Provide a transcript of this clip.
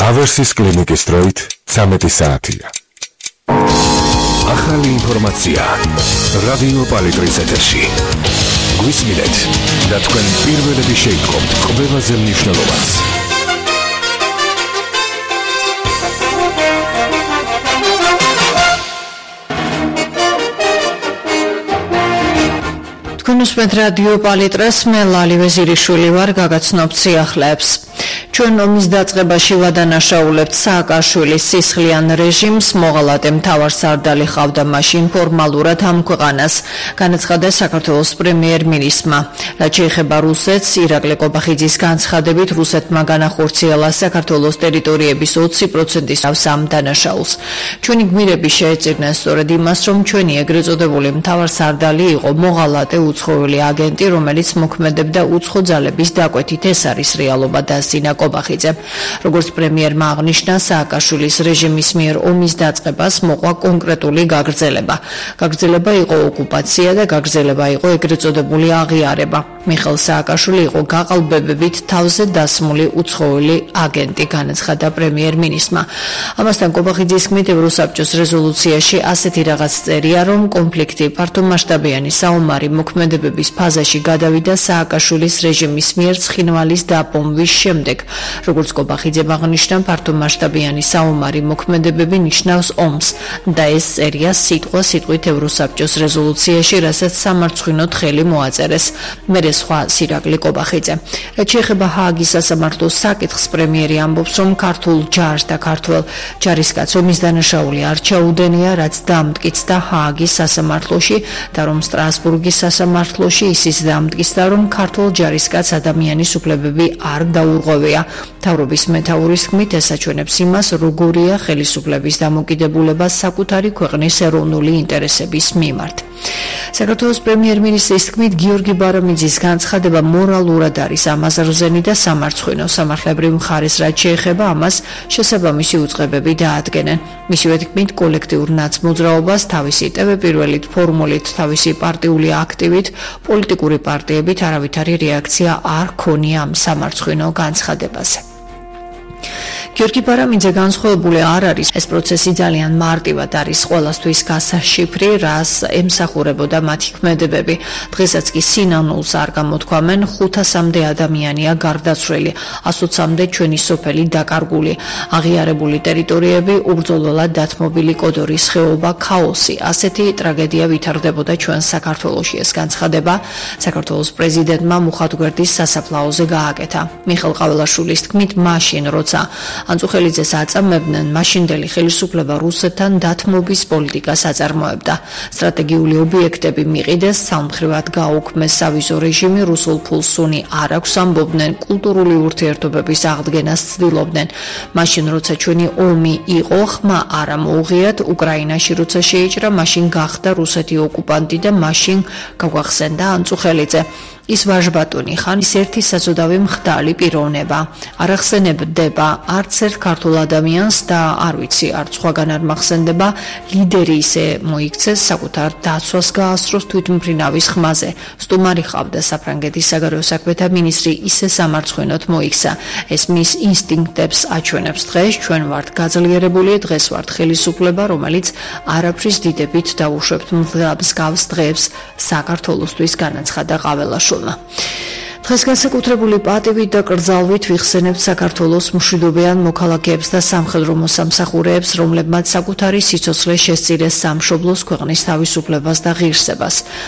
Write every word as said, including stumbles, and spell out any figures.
ავერსის კლინიკის დროით ცამეტი საათია. ახალი ინფორმაცია რადიო პალიტრის ეთერში. გვისმინეთ და თქვენ პირველები შეიტყობთ ყველაზე მნიშვნელოვანს. თქვენ უსმენთ რადიო პალიტრას, მე ლალი ვეზირიშვილი ვარ, გაგაცნობთ სიახლეებს. ჩვენ ომის დაწყებაში ვადანაშაულებთ სააკაშვილის სისხლიან რეჟიმს, მოღალატე მთავარსარდალი ყავდა მაშინ ფორმალურად ამ ქვეყანას, განაცხადა საქართველოს პრემიერ-მინისტრმა. რაც შეეხება რუსეთს, ირაკლი კობახიძის განცხადებით, რუსეთმა განახორციელა საქართველოს ტერიტორიების ოცი პროცენტის ამ დანაშაულს. ჩვენი გმირები შეეწირნენ სწორედ იმას, რომ ჩვენი ეგრეთ წოდებული მთავარსარდალი იყო მოღალატე უცხოელი აგენტი, რომელიც მოქმედებდა უცხო ძალების დაკვეთით. ეს არის რეალობა, დასძინა კობახიძე. როგორც პრემიერმა აღნიშნა, სააკაშვილის რეჟიმის მიერ ომის დაწყებას მოყვა კონკრეტული გაგრძელება. გაგრძელება იყო ოკუპაცია და გაგრძელება იყო ეგრეთ წოდებული აღიარება. მიხეილ სააკაშვილი იყო გაყალბებებით თავზე დასმული უცხოელი აგენტი, განაცხადა პრემიერ-მინისტრმა. ამასთან კობახიძის თქმით, ევროსაბჭოს რეზოლუციაში ასეთი რაღაც წერია, რომ კონფლიქტი ფართომასშტაბიანი საომარი მოქმედებების ფაზაში გადავიდა სააკაშვილის რეჟიმის მიერ ცხინვალის დაპომვის შემდეგ. როგორც კობახიძემ აღნიშნა, ფართომასშტაბიანი საომარი მოქმედებები ნიშნავს ომს და ეს წერია სიტყვა სიტყვით ევროსაბჭოს რეზოლუციაში, რასაც სამარცხვინოდ ხელი მოაწერეს. მერე სხვა ირაკლი კობახიძე. რაც შეეხება ჰააგის სასამართლოს საკითხს, პრემიერი ამბობს, რომ ქართულ ჯარს და ქართველ ჯარისკაცს ომის დანაშაული არ ჩაუდენია, რაც დამტკიცდა ჰააგის სასამართლოში და რომ სტრასბურგის სასამართლოში ისიც დამტკიცდა, რომ ქართულ ჯარისკაცს ადამიანის უფლებები არ დაურღვევია. მთავრობის მეთაურის თქმით, ეს აჩვენებს იმას, როგორია ხელისუფლების დამოკიდებულება საკუთარი ქვეყნის ეროვნული ინტერესების მიმართ. საქართველოს პრემიერ-მინისტრის თქმით, გიორგი ბარამიძის განცხადება მორალურად არის ამაზრზენი და სამარცხვინო. სამართლებრივ მხარეს რაც შეეხება ამას, შესაბამისი უწყებები დაადგენენ. მისივე თქმით, კოლექტიურ ნაცმოძრაობას თავისი ტევ-პირველით ფორმულით, თავისი პარტიული აქტივით, პოლიტიკური პარტიებით არავითარი რეაქცია არ ქონია ამ სამარცხვინო განცხადებაზე. გიორგი ბარამიძე განსხვავებული არ არის. ეს პროცესი ძალიან მარტივად არის ყველასთვის გასაშიფრი, რას ემსახურებოდა მათი ქმედებები. დღესაც კი სინანულს არ გამოთქვამენ, ხუთასამდე ადამიანია გარდაცვლილი, ასოცამდე ჩვენი სოფელი დაკარგული, აღიარებული ტერიტორიები, უბრძოლველად დათმობილი კოდორის ხეობა, ქაოსი. ასეთი ტრაგედია ვითარდებოდა ჩვენ საქართველოში. ეს განცხადება საქართველოს პრეზიდენტმა მუხათგვერდის სასაფლაოზე გააკეთა. მიხეილ ყაველაშვილის თქმით, მაშინ როცა ანწუხელიძეს აწამებდნენ, მაშინდელი ხელისუფლება რუსეთთან დათმობის პოლიტიკას აწარმოებდა. სტრატეგიული ობიექტები მიყიდეს, სამხრივად გაუქმეს სავიზო რეჟიმი, რუსულ ფულს სუნი არ აქვს ამბობდნენ, კულტურული ურთიერთობების აღდგენას ცდილობდნენ. მაშინ როცა ჩვენი ომი იყო, ხმა არ მოუღიათ, უკრაინაში როცა შეიჭრა, მაშინ გახდა რუსეთი ოკუპანტი და მაშინ გაგვახსენდა ანწუხელიძე. ის ვაჟბატონი ხან ის ერთი საზოდავი მხდალი პიროვნება. არ ახსენებდება არც ერთ ქართულ ადამიანს და არ ვიცი, არც სხვაგან არ მახსენდება, ლიდერი ისე მოიქცეს, საკუთარ დაცვას გაასწროს თვითმფრინავის ხმაზე. სტუმარი ყავდა საფრანგეთის საგარეო საქმეთა მინისტრი, ისე სამარცხვინოდ მოიქცა. ეს მის ინსტინქტებს აჩვენებს. დღეს ჩვენ ვართ გაძლიერებული, დღეს ვართ ხელისუფლება, რომელიც არაფრის დიდებით დაუშვებთ მსგავს დღეებს საქართველოსთვის, განაცხადა ყაველაშვილმა. დღეს განსაკუთრებული პატივით და კრძალვით ვიხსენებთ საქართველოს მშვიდობიან მოქალაქეებს და სამხედრო მოსამსახურეებს, რომლებმაც საკუთარი სიცოცხლე შესწირეს სამშობლოს ქვეყნის თავისუფლებას და ღირსებას.